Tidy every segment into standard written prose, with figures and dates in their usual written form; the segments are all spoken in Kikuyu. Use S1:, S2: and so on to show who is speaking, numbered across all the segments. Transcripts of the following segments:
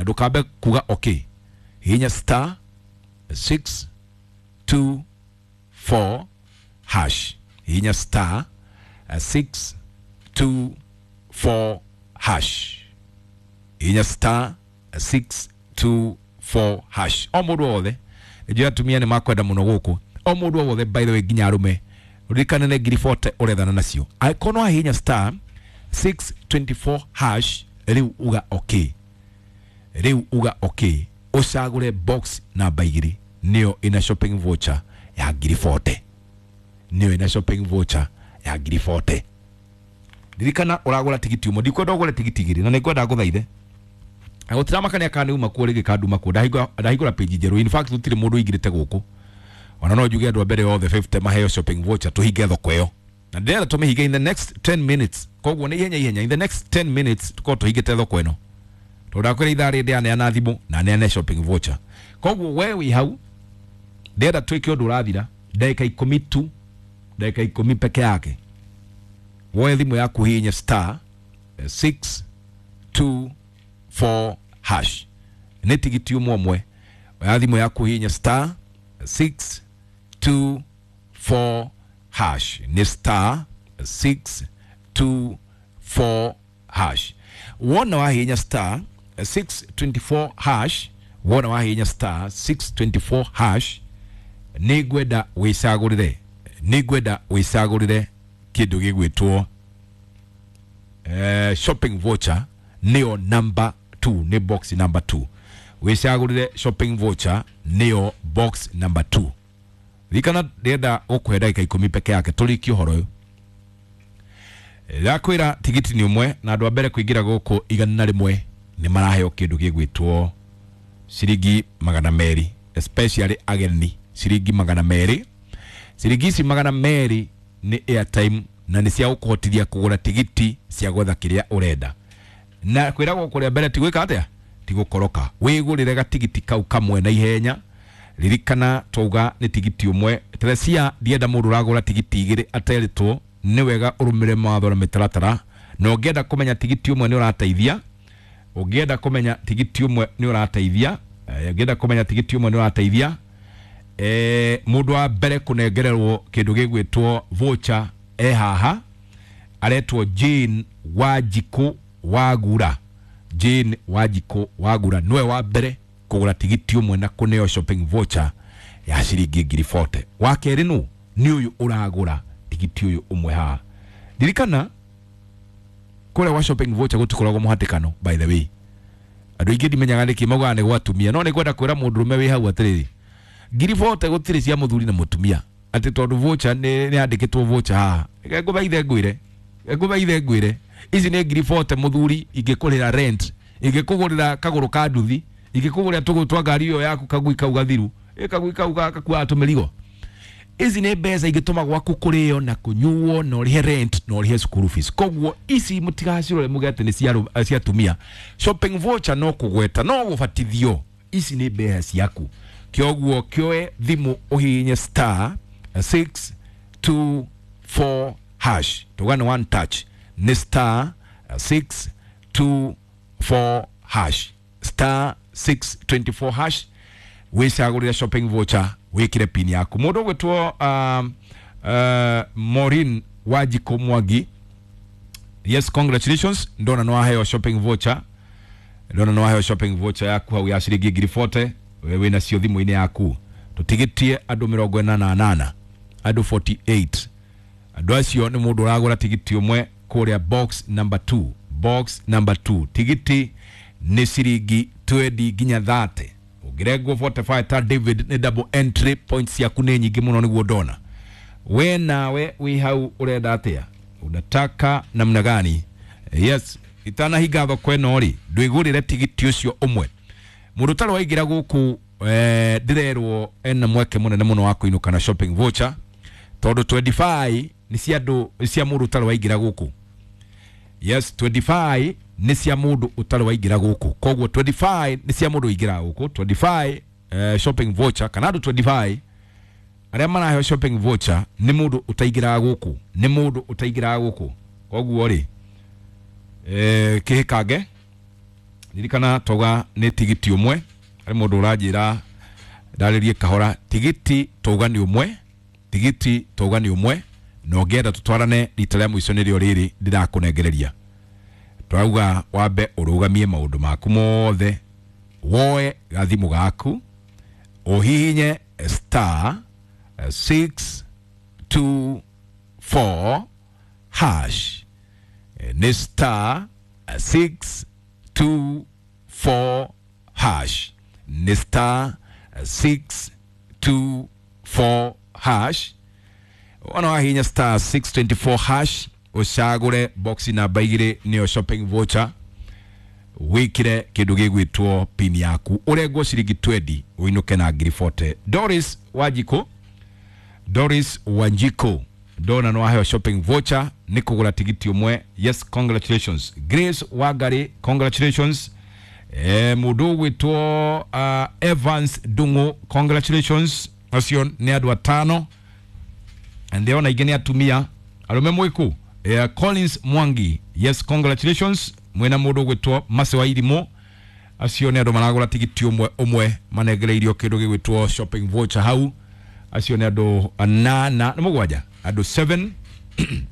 S1: Na ndũkambe kuga okay, hihinya star 6 2 4 hash, hihinya star 6 2 4 hash, hihinya star 6 2 4 hash. O mũndũ wothe, nĩnjũĩ atumia nĩ makwenda mũno gũkũ, o mũndũ o wothe, by the way, nginya arũme, ririkane nĩ ngiri 40 ũrethana nacio. Angĩkorwo no wahihinya star 624 hash, rĩu uga okay, rĩu uga okay, ũcagũre box namba 2, nĩyo ĩna shopping voucher ya ngiri 40, nĩyo ĩna shopping voucher ya ngiri 40. Ririkana ũragũra tigiti ũmwe, ndikwenda ũgũre tigiti igĩrĩ, na nĩngwenda ngũthaithe na gũtiramakania kana nĩ uma kuo rĩngĩ kana nduma kuo. Ndahingũra page njerũ. In fact, gũtirĩ mũndũ ũingĩrĩte gũkũ, ona no njuge andũ a mbere othe 50 maheo shopping voucher, tũhinge thoko ĩyo, na ndĩrenda tũmĩhinge in the next 10 minutes. Koguo nĩ ihenya ihenya, in the next 10 minutes tũkorwo tũhingĩte thoko ĩno, tondũ ndakwĩra ithaa rĩrĩ ndĩraneana thimũ na neane shopping voucher. Koguo we wĩ hau, ndĩrenda twĩke ũndũ ũrathira ndagĩka 10 tu, ndagĩka 10 peke yake. Woe thimũ yaku, hihinye star 6 2 4 hash, nĩ tigiti ũmwe ũmwe. Oya thimũ yaku, hihinye star 6 2 4 hash, nĩ star 6 2 4 hash. Wona wahihinya star 624 hash, wona wahihinya star 624 hash, nĩ ngwenda wĩcagũrĩre, nĩ ngwenda wĩcagũrĩre kĩndũ gĩgwĩtwo shopping voucher, nĩyo number 2, nĩ box number 2. Wĩcagũrĩre shopping voucher, nĩyo box number 2. Ririkana ndĩrenda gũkũhe ndagĩka 10 peke yake tũrĩkie ũhoro ũyũ. Ndakwĩra tigiti nĩ ũmwe, na andũ a mbere kũingĩra gũkũ 100 nĩ maraheo kĩndũ gĩgwĩtwo ciringi 200, especially ageni, ciringi 200. Ciringi ici 200 nĩ airtime na nĩ cia gũkũhotithia kũgũra tigiti cia gwetha kĩrĩa ũrenda. Na kwĩragwo kũrĩa mbere ti gwĩka atĩa, ti gũkoroka. Wĩgũrĩre gatigiti kau kamwe na ihenya. Ririkana twauga nĩ tigiti ũmwe. Teresia, ndienda mũndũ ũragũra tigiti igĩrĩ aterĩtwo. Nĩ wega ũrũmĩrĩre mawatho na mĩtaratara, na ũngĩenda kũmenya tigiti ũmwe nĩ ũrateithia, ũngĩenda kũmenya tigiti ũmwe nĩ ũrateithia, ũngĩenda kũmenya tigiti ũmwe nĩ ũrateithia, mũndũ wa mbere kũnengererwo kĩndũ gĩgwĩtwo voucher e haha, aretwo Jane Wanjikũ Wagura. Jane Wanjikũ Wagura nĩwe wa mbere kũgũra tigiti ũmwe na kũneo shopping voucher ya ciringi ngiri 40. Wa kerĩ nũ? Nĩ ũyũ ũragũra tigiti ũyũ ũmwe haha. Ririkana kũrĩa gwa shopping voucher gũtikoragwo mũhatĩkano. By the way, andũ aingĩ ndimenyaga nĩkĩ maugaga nĩ gwa atumia, no nĩ ngwenda kwĩra mũndũrũme wĩ hau atĩrĩrĩ, ngiri 40 gũtirĩ cia mũthuri na mũtumia, atĩ tondũ voucher nĩ yandĩkĩtwo voucher haha. Reke ngũthaithe ngwĩre, reke ngũthaithe ngwĩre, ici nĩ ngiri 40 mũthuri ingĩkũrĩra rent, ingĩkũgũrĩra kagũrũ ka nduthi, ingĩkũgũrĩra tũgũrũ twa ngari ĩyo yaku, kagui kau gathiru, ĩ kagui kau gakuaga tũmĩrigo. Ici nĩ mbeca ingĩtũma gwaku kũrĩo na kũnyuo na ũrĩhe rent na ũrĩhe school fees. Koguo ici mũtigacirore muge atĩ nĩ cia atumia. Shopping voucher no kũgweta no gũbatithio, ici nĩ mbeca ciaku. Kĩoguo kĩoe thimũ ũhihinye star 6 2 4 hash, tuga nĩ one touch, nĩ star 6 2 4 hash, star 624 hash, wĩcagũrĩre shopping voucher, wĩkĩre pin yaku. Mũndũ ũgwĩtwo Maureen Wanjikũ Mwangi, yes, congratulations, ndona no waheo shopping voucher, ndona no waheo shopping voucher yaku hau ya ciringi ngiri 40. We wĩna cio thimũ-inĩ yaku. Tũtigĩtie andũ 48, andũ 48. Andũ acio nĩ mũndũ ũragũra tigiti ũmwe kũrĩa box number 2, box number 2. Tigiti nĩ ciringi 20 nginya 30, ũngĩrengwo 45 ta David nĩ double entry points ciaku nĩ nyingĩ mũno. Nĩguo ndona we nawe wĩ hau, ũrenda atĩa? Unataka namna gani? Yes, itanahinga thoko ĩno rĩ, ndwĩgũrĩre tigiti ũcio ũmwe. Mũndũ ũtarĩ waingĩra gũkũ, ndĩrerwo ena mweke mũnene mũno wa kũinũka na shopping voucher, tondũ 25 nĩ cia andũ, cia mũndũ ũtarĩ waingĩra gũkũ. Yes, 25 nĩ cia mũndũ ũtarĩ waingĩra gũkũ. Koguo 25 nĩ cia mũndũ ũingĩraga gũkũ, 25 shopping voucher, kana andũ 25 arĩa maraheo shopping voucher nĩ mũndũ ũtaingĩraga gũkũ, nĩ mũndũ ũtaingĩraga gũkũ. Koguo rĩ, kĩhĩkange. Ririkana twauga nĩ tigiti ũmwe. Harĩ mũndũ ũranjĩra ndarĩrie kahora, tigiti twauga nĩ ũmwe, tigiti twauga nĩ ũmwe, na ũngĩenda tũtwarane rita rĩa mũico nĩrĩo rĩrĩ ndĩrakũnengereria. Twauga wambe ũrũgamie maũndũ maku mothe, woe gathimũ gaku, ũhihinye star 6 2 4 hash. Nĩ star 6 2 4 hash, nĩ star 6 2 4 hash. Wona wahihinya star 624 hash, ũcagũre box namba 2 nĩyo shopping voucher, wikire kindu gigwitwo pin yaku, urengwo ciringi 20 uinuke na ngiri 40. Doris Wanjiku, Doris Wanjiku, ndona no aheo shopping voucher ni kugura tigiti umwe. Yes, congratulations. Grace Wangari, congratulations. Mundu ugwitwo Evans Dungu, congratulations. Acio ni andu atano, ndĩrona ingĩ nĩ atumia arume mwiku. Collins Mwangi, yes, congratulations. Mwena mundu ugwitwo Mase wa Irimo, acio nĩ andũ maragũra tigiti ũmwe ũmwe manengereirio kĩndũ gĩgwĩtwo shopping voucher hau. Acio nĩ andũ anana nĩ mũgwanja, andũ 7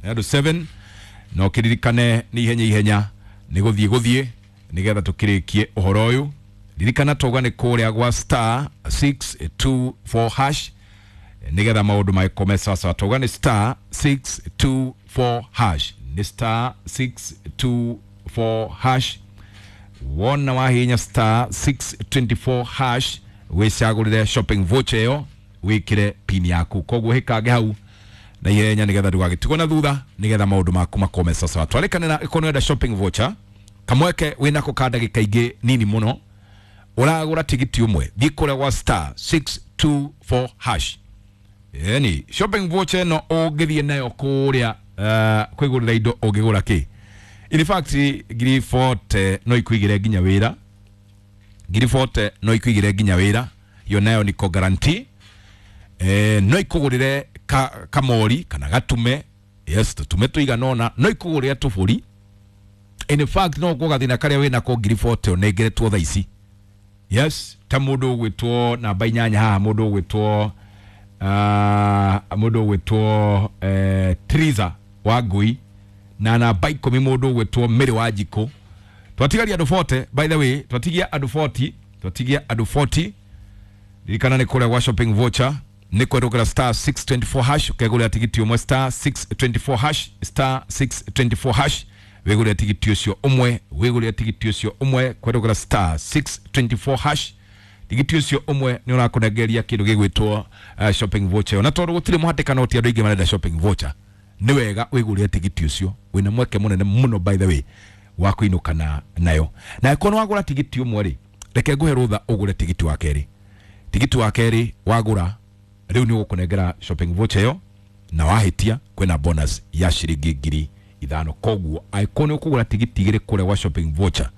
S1: andũ 7. No kĩririkane nĩ ihenya ihenya nĩ gũthiĩ gũthiĩ nĩgetha tũkĩrĩkie ũhoro ũyũ. Ririkana twauga nĩ kũrĩa gwa star 624 hash nĩgetha maũndũ magĩkome sawasawa. Twauga nĩ star 624 hash, nĩ star 624 hash. Wona wahinya star 624 hash wicagũrĩre shopping voucher ĩyo, wĩkĩre pin yaku. Koguo hĩkange hau na ihenya nĩgetha ndũgagĩtigwo na thutha, nĩgetha maũndũ maku makome sawasawa. Twarĩkanĩra ĩkorwo nĩwenda shopping voucher kamweke wĩnako ka ndagĩka ingĩ nini mũno, ũragũra tigiti ũmwe, thiĩ kũrĩa gwa star 624 hash. Yani shopping voucher ĩno ũngĩthiĩ nayo kũrĩa kwĩgũrĩra indo ũngĩgũra kĩ. In fact ngiri 40 no ikuigĩre nginya wĩra, ngiri 40 no ikuigĩre nginya wĩra, iyo nayo niko guarantee. No ikũgũrĩre kamori kana gatume, yes, tũtume tũigana ũna, no ikũgũrĩre tũbũri. In fact no ũguo gathĩna karĩa wĩnako ngiri 40 ũnengeretwo thaa ici. Yes, ta mũndũ ũgwĩtwo namba inyanya haha, mũndũ ũgwĩtwo mũndũ ũgwĩtwo Triza wa Ngui, na namba 10 mũndũ ũgwĩtwo Mary wa Njikũ. Twatigaria andũ 40, by the way, twatigia andũ 40, twatigia andũ 40. Ririkana nĩ kũrĩa gwa shopping voucher nĩ kwerũkĩra star 624 hash, ũkegũrĩra tigiti ũmwe star 624 hash, star 624 hash, wĩgũrĩre tigiti ũcio ũmwe, wĩgũrĩre tigiti ũcio ũmwe kwerũkĩra star 624 hash. Tigiti ũcio ũmwe nĩ ũrakũnengeria kĩndũ gĩgwĩtwo shopping voucher. Na tondũ gũtirĩ mũhatĩkano ti andũ aingĩ marenda shopping voucher, nĩ wega wĩgũrĩre tigiti ũcio, wĩna mweke mũnene mũno by the way wa kũinũka nayo. Na angĩkorwo nĩ wagũra tigiti ũmwe rĩ, reke ngũhe rũtha ũgũre tigiti wa kerĩ. Tigiti wa kerĩ wagũra rĩu nĩ ũgũkũnengera shopping voucher ĩyo, na wahĩtia kwĩna bonus ya ciringi ngiri ithano. Koguo angĩkorwo nĩ ũkũgũra tigiti igĩrĩ kũrĩa gwa shopping voucher,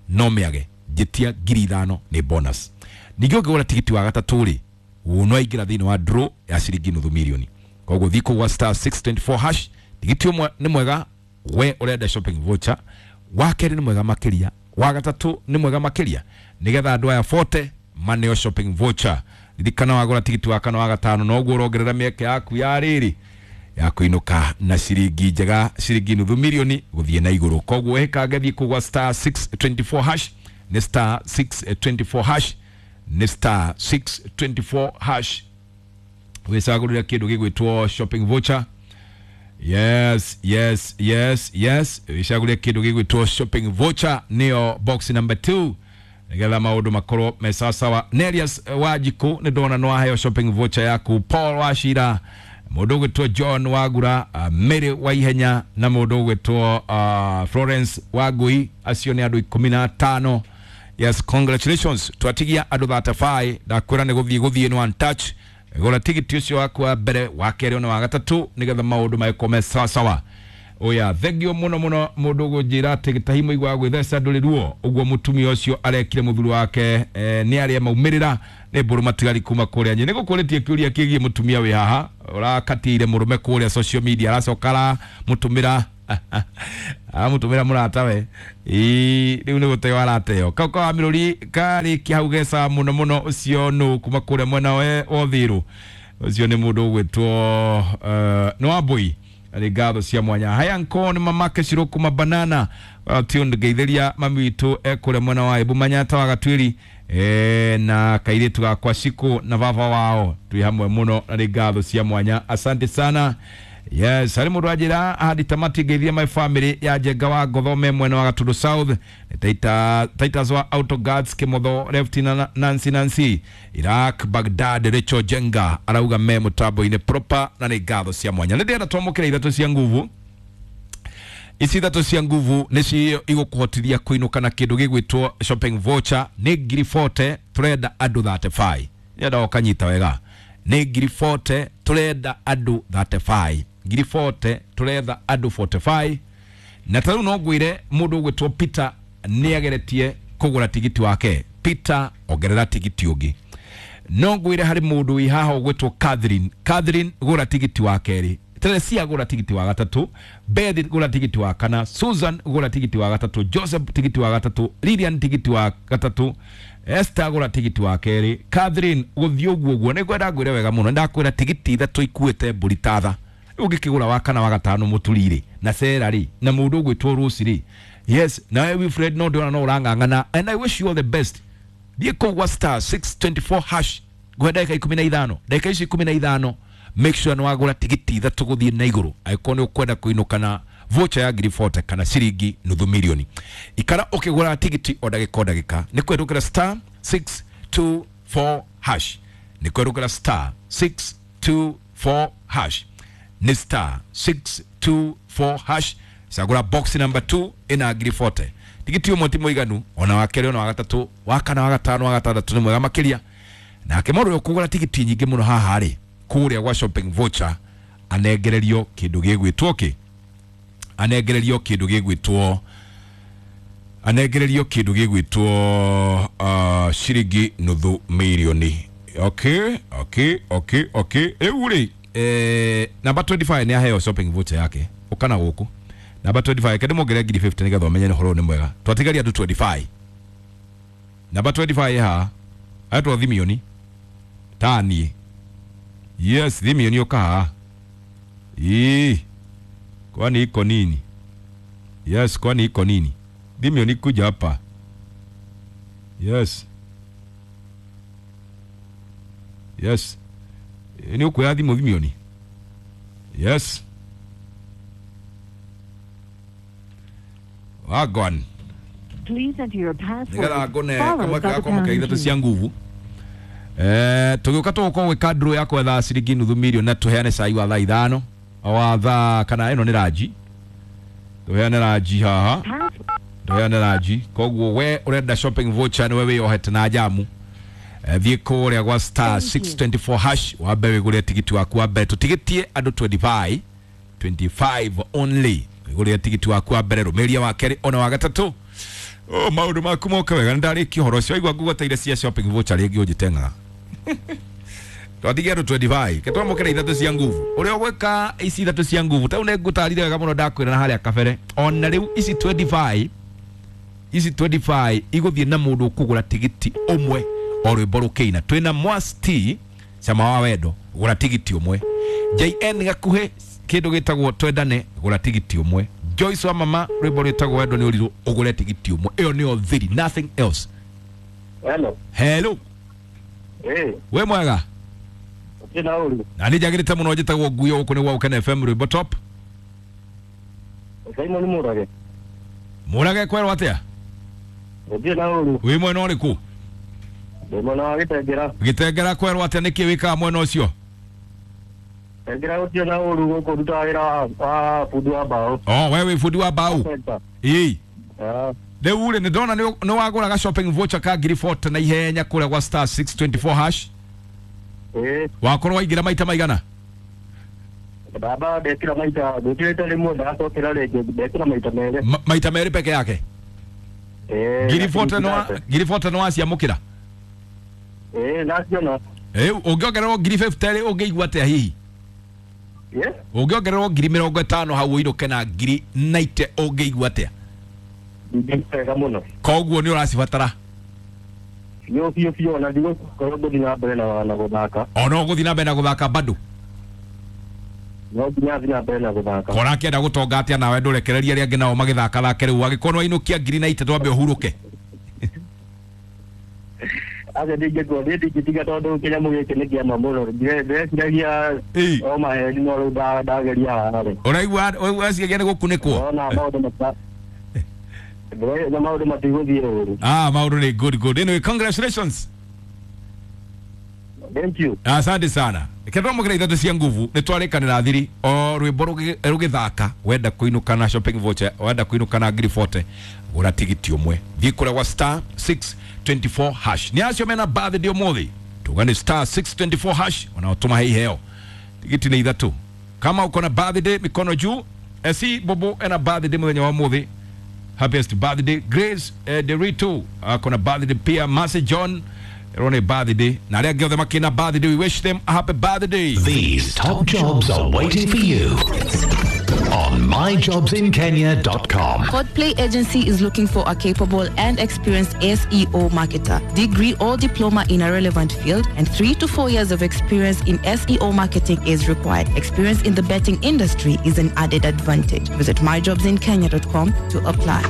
S1: no mĩage njĩtia ngiri ithano nĩ bonus. Ningĩ ũngĩgũra tigiti wa gatatũ rĩ, no aingĩra thĩinĩ wa draw ya ciringi nuthu mirioni. Koguo thiĩ kũu gwa star 624 hash. Tigiti ũmwe nĩ mwega we ũrenda shopping voucher, wa kerĩ nĩ mwega makĩria, wa gatatũ nĩ mwega makĩria, nĩgetha andũ aya 40 maneo shopping voucher. Ririkana wagũra tigiti wa kana wa gatano noguo ũrongerera mĩeke yaku ya rĩrĩ ya kũinũka na ciringi njega, ciringi nuthu mirioni gũthiĩ na igũrũ. Koguo ĩkange thiĩ kũu gwa star 624 hash, nĩ star 624 hash, nĩ star 624 hash, wĩcagũrĩre kĩndũ gĩgwĩtwo shopping voucher. Yes, yes, yes, yes, wĩcagũrĩre kĩndũ gĩgwĩtwo shopping voucher, nĩyo box number 2, nĩgetha maũndũ makorwo me sawasawa. Nerias Wanjikũ nĩ ndona no aheo shopping voucher yaku. Paul Wachira, mũndũ ũgwĩtwo John Wagura, Mary wa Ihenya, na mũndũ ũgwĩtwo Florence Wangui, acio nĩ andũ 15. Yes, congratulations. Twatigia andũ 35, ndakwĩra nĩ gũthiĩ gũthiĩ nĩ one touch. Gũra tigiti ũcio waku wa mbere, wa kerĩ ona wa gatatũ, nĩgetha maũndũ magĩkorwo me sawasawa. Oya, thengio mũno mũno mũndũ ũgũnjĩra atĩ gĩtahi mũigua wa gwĩtheca ndũrĩ ruo. Ũguo mũtumia ũcio arekire mũthuri wake nĩ arĩa maumĩrĩra nĩ mbũrũ matigari kuma kũrĩa nyĩ. Nĩgũkũrĩtie kĩũria kĩgiĩ mũtumia wĩ haha ũrakatĩire mũrũme kũrĩa social media, aracoka aramũtũmĩra Amutumira muratawe. Ii riu ni guteo arateo. Kau ka miruri karikia hau geca muno muno ucio nu kuma kuria mwena wa Uthiru. Ucio ni mundu ugwitwo ni Wambui. Ari ngatho cia mwanya. Haya nko ni mamake Ciro kuma banana. Tuned ngeithiria mami witu ekuria mwena wa Embu Manyata wa Gatwiri. Na kairitu gakwa Ciku na baba wao twi hamwe muno na ngatho cia mwanya. Asante sana. Yes, ari mundu anjira hadi tamati ngeithia my family ya Njenga wa Ngothome mwena wa Gatundu South, Titus wa Auto Guards Kimotho Left na Nancy Iraq Baghdad Rachel Jenga arauga me mutambo-ini proper na nĩ ngatho cia mwanya. Nĩ ndĩrenda twamũkĩre ithatũ cia nguvu. Ici ithatũ cia nguvu nĩcio igũkũhotithia kũinũka na kĩndũ gĩgwĩtwo shopping voucher nĩ ngiri 40 tũrenda andũ 35. Nĩenda ũkanyita wega. Nĩ ngiri 40 tũrenda andũ 35. Ngiri 40 tũretha andũ 45. Na tarĩu no ngwĩre mũndũ ũgwĩtwo Peter nĩageretie kũgũra tigiti wake. Peter ongerera tigiti ũngĩ. No ngwĩre harĩ mũndũ wĩ haha ũgwĩtwo Catherine. Catherine gũra tigiti wa kerĩ. Teresia gũra tigiti wa gatatũ, Beth gũra tigiti wa kana, Susan gũra tigiti wa gatatũ, Joseph tigiti wa gatatũ, Lilian tigiti wa gatatũ, Esther gũra tigiti wa kerĩ, Catherine gũthiĩ ũguo ũguo. Nĩ ngwenda ngwĩre wega mũno, ndakwĩra tigiti ithatũ ikuĩte mbũri tatha. Ũngĩkĩgũra wa kana wa gatano mũturi rĩ, na Sarah rĩ, na mũndũ ũgwĩtwo Rose rĩ. Yes, nawe Wilfred no ndĩrona no ũrang'ang'ana, and I wish you all the best. Thiĩ kũu gwa star 624 hash ngũhe ndagĩka 15, ndagĩka ici 15 make sure nĩ wagũra tigiti ithatũ gũthiĩ na igũrũ angĩkorwo nĩ ũkwenda kũinũka na voucher ya ngiri 40 kana ciringi nuthu milioni. Ikara ũkĩgũra tigiti o ndagĩka o ndagĩka. Nĩ kũhetũkĩra star 624 hash. Nĩ kũhetũkĩra star 624 hash. Nĩ star 624 hash. Cagũra box number 2 ĩna ngiri 40. Tigiti ũmwe ti mũiganu, ona wa kerĩ, ona wa gatatũ, wa kana, wa gatano, wa gatandatũ nĩ mwega makĩria. Nake mũndũ ũrĩa ũkũgũra tigiti nyingĩ mũno haha rĩ, kũrĩa gwa shopping voucher anengererio kĩndũ gĩgwĩtwo kĩ? Anengererio kĩndũ gĩgwĩtwo, anengererio kĩndũ gĩgwĩtwo ciringi nuthu milioni. Okay, okay, okay, okay. Rĩu rĩ, namba 25 nĩ aheo shopping voucher yake. Ũkana gũkũ. Namba 25 kende mongerere ngiri 50 nĩgetha ũmenye nĩ ũhoro nĩ mwega. Twatigaria andũ 25. Namba 25 haha etwo Thimioni. Tani. Yes, Thimioni ũka haha. Ii. Kwani iko nini? Yes, kwani iko nini? Thimioni kuja hapa. Yes. Yes. Ni uko ya thimũ Thimioni. Yes. Wagwan.
S2: Please enter your password.
S1: Nigetha ngone kamwe gakwamũkĩra ithatũ cia nguvu. Tũgĩũka tũgũkorwo gwĩka draw ya kwetha ciringi nuthu milioni na tũheane cai wa thaa ithano wa thaa kana ĩno nĩ ranji. Tũheane ranji haha. Tũheane ranji. Koguo we ũrenda shopping voucher nĩwe wĩyohete na njamu. Thiĩ kũrĩa gwa star 624 hash wambe wĩgũre tigiti waku wa mbere. Tũtigĩtie andũ 25, 25 only. Wĩgũrĩre tigiti waku wa mbere, rũmĩrĩria wa kerĩ ona wa gatatũ. Oh, maũndũ maku moke wega. Nĩndarĩkia ũhoro ũcio. Waigua ngũgweteire cia shopping voucher rĩngĩ ũnjĩteng'aga. Twatigia andũ 25. Ke twamũkĩra ithatũ cia nguvu. Ũrĩa ũgwĩka ici ithatũ cia nguvu, ta rĩu nĩngũtarire wega mũno ndakwĩra na harĩa kabere. Ona rĩu ici 25, ici 25 igũthiĩ na mũndũ ũkũgũra tigiti ũmwe o rwĩmbo rũkĩina. Twĩna Mwas T Cama wa Wendo, gũra tigiti ũmwe. JN Gakuhĩ kĩndũ gĩtagwo Twendane, gũra tigiti ũmwe. Joyce wa Mama rwĩmbo rwĩtagwo Wendo nĩ ũrirũ, ũgũre tigiti ũmwe. Ĩyo nĩyo thiri, nothing else.
S3: Hello.
S1: Hello.
S3: Eh.
S1: We mwega?
S3: Ndina ũru.
S1: Na nĩ njagĩrĩte mũno, njĩtagwo Nguyo, gũkũ nĩ gwa Ũkene FM rwĩmbo top.
S3: Simon Mũrage.
S1: Mũrage kwerwo atĩa?
S3: Ndina ũru.
S1: Wĩ mwena ũrĩkũ?
S3: Ndĩ mwena wa Gĩtengera.
S1: Gĩtengera kwerwo atĩa? Nĩkĩ wĩkaga mwena ũcio?
S3: Gĩtengera gũtirĩ na ũru, gũkũ ndutaga wĩra wa bundi wa mbaũ.
S1: Oh, we wĩ bundi wa mbaũ? Ĩĩ. Rĩu rĩ, nĩndona nĩ wagũraga shopping voucher ka ngiri 40 na ihenya kũrĩa gwa star 624 hash.
S3: Ĩĩ.
S1: Wakorwo waingĩra maita maigana?
S3: Baba ndekĩra maita, ndekĩrĩte rĩmwe ndacokera rĩngĩ, ndekĩra maita merĩ.
S1: Maita merĩ peke yake?
S3: Ĩĩ.
S1: Ngiri 40 ngiri 40 nĩ waciamũkĩra?
S3: Ĩĩ, ndaciona.
S1: Ĩĩ, ũngĩongererwo ngiri 50 rĩ, ũngĩigua atĩa hihi?
S3: Yes.
S1: Ũngĩongererwo 50,000 hau ũinũke na 90,000 ũngĩigua atĩa?
S3: Ndingĩigua wega mũno.
S1: Koguo nĩ ũracibatara?
S3: Biũ biũ biũ, ona ndigũkorwo ngũthiĩ na mbere na gũthaka.
S1: Ona ũgũthiĩ na mbere na gũthaka bado?
S3: No nginya thiĩ na mbere na gũthaka.
S1: Kora akĩenda gũtonga atĩa nawe ndũrekererie arĩa angĩ nao magĩthaka thake rĩu angĩkorwo nĩwainũkia 90,000 twambe ũhurũke.
S3: Aca ndingĩkorwo niĩ ndingĩtiga tondũ kĩnyamũ gĩkĩ nĩ kĩama mũno. Ndĩreciragia o maheni no rĩu ndageria haha rĩ.
S1: Ũraigua ũraciria nĩ gũkunĩkwo?
S3: Ona maũndũ mata ndĩrona maũndũ matigũthiĩ ũru.
S1: Ah, maũndũ nĩ good good. Anyway, congratulations.
S3: Thank you.
S1: Asante sana. Kĩndũ ithatũ cia nguvu nĩ twarĩkanĩra thiri o rwĩmbo rũgĩthaka wenda kũinũka na shopping voucher, wenda kũinũka na 40,000, gũra tigiti ũmwe, thiĩ kũrĩa gwa star 624 hash. Nĩ acio mena birthday ũmũthĩ, tuga nĩ star 624 hash ona ũtũmahe iheo. Tigiti nĩ ithatũ. Kama uko na birthday, mikono juu. Esi Bobo ena birthday mũthenya wa ũmũthĩ, happiest birthday. Grace Derito ako na birthday pia. Mercy John Rone birthday na arĩa angĩ othe makĩna birthday, we wish them a happy birthday.
S4: These top jobs are waiting for you on myjobsinkenya.com.
S5: Codplay Agency is looking for a capable and experienced SEO marketer, degree or diploma in a relevant field, and 3 to 4 years of experience in SEO marketing is required. Experience in the betting industry is an added advantage. Visit myjobsinkenya.com to apply.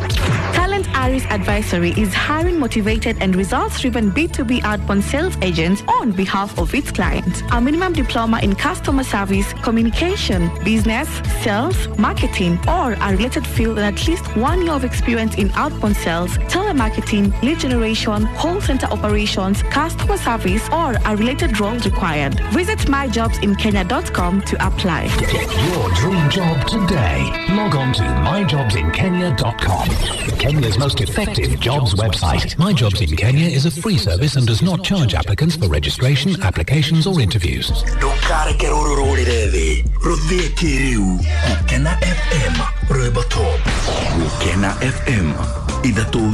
S6: Talent Aris Advisory is hiring motivated and results-driven B2B outbound sales agents on behalf of its clients. A minimum diploma in customer service, communication, business, sales, marketing, or a related field, and at least 1 year of experience in outbound sales, telemarketing, lead generation, call center operations, customer service, or a related role required. Visit myjobsinkenya.com to apply.
S4: Get your dream job today. Log on to myjobsinkenya.com. Kenya's most effective jobs website. My Jobs in Kenya is a free service and does not charge applicants for registration, applications, or interviews.
S7: Ndũkareke rũrũ rũrĩre thĩ rũthĩe kĩrĩu. Gũkena FM, rwĩmbo top. Gũkena FM ithatũ.